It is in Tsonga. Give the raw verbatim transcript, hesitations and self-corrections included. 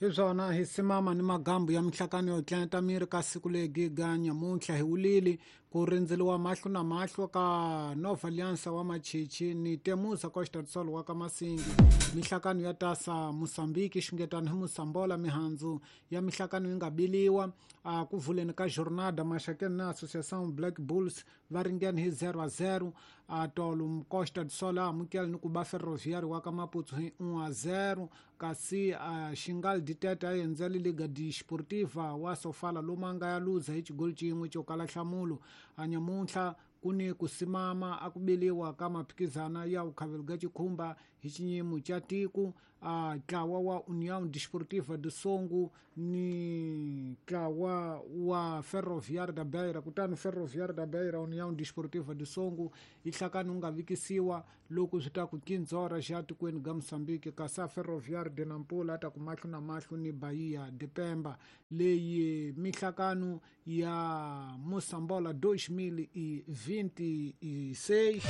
Hi swona hi simama ni magambu ya mihlakano yo tlenta miri ka siku legi ga nyamuntlha hi wulili ku rindzeliwa mahlo na mahlo ka Nova Aliança wa Machichi ni Temusa Costa do Sol wa ka Masingi. Mihlakano ya tasa Mozambique xungetano hi Mosambola mihandzu ya mihlakano yi nga biliwa a ku vuleni ka jornada Maxakeni na Associação Black Bulls va ringene hi zero a zero. A tolo Costa do Sol a amukela ni ku ba Ferroviário wa ka Maputo hi un a zero. Kasi a Xingal Ditete a endzele Liga Desportiva wa Sofala lomu a nga ya luza hi xigoli xin'we xo kala nhlamulo. A nyamuntlha ku ni ku simama a ku biliwa ka maphikizana ya vukhavelo ga xikhumba hi xinyimo xa tiko a ntlawa wa União Desportiva do Songo ni ntlawa wa Ferroviário da Beira. Kutani Ferroviário da Beira União Desportiva do Songo yi hlakani wu nga vikisiwa loko swi ta ku kinzora xa tikweni ga Mozambique, kasi a Ferroviário de Nampula a ta ku mahlo na mahlo ni Bahia de Pemba. Leyi mihlakano ya Mosambola dois mil e vinte e seis.